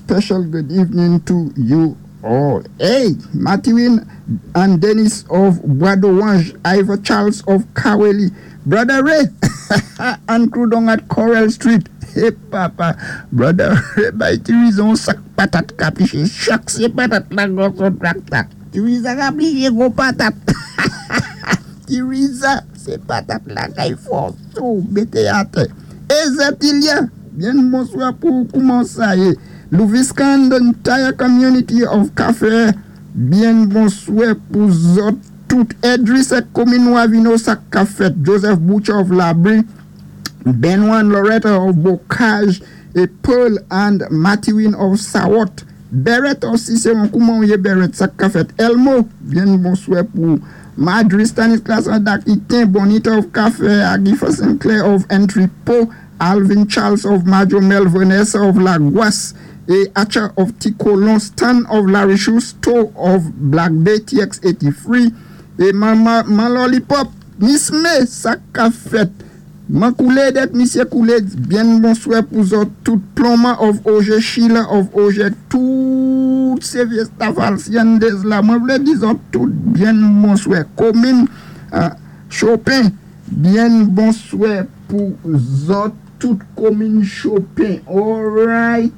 Special good evening to you all. Hey, Mathurin and Dennis of Bois d'Orange, Ivor Charles of Caweli, Brother Ray and crew down at Coral Street. Hey papa, Brother Ray bay Tiriza yon sak patat kapiché, chak sé patat la gwo kon trakta. Tiriza kapiché gwo patat. Tiriza sé patat lakay fòsé w mété atè. Ezetilya, byen bonswa pou ou kouman sa yé? Louvisca and the entire community of Kafè, byen bonswè pou zòt tout. Edris ak komin Wavino sak ka fèt? Joseph Butcher of Labri, Benoit and Loretta of Bocage, e Pearl and Mathurin of Sawot. Beret of Ciceron, kouman ou yé Beret sak ka fèt? Elmo, byen bonswè pou Marjorie Stanislas and Aquitaine, Bonita of Kafè, Agifa Sinclair of Entrepot, Alvin Charles of Majomel, Vanessa of Laguas, e Acha of Ticolon, Stan of Larichou, Stowe of Black Bay, TX83, e Man, Man Lollipop, Miss May, sak ka fèt? Man koulé dèk misyé koulé byen bonswè pou zòt tout Plonman of Oje Sheila of Oje tout sé vyé staff Alciandes la mwen vlé di zòt tout byen bonswè komin Chopin byen bonswè pou zòt tout komin Chopin alright.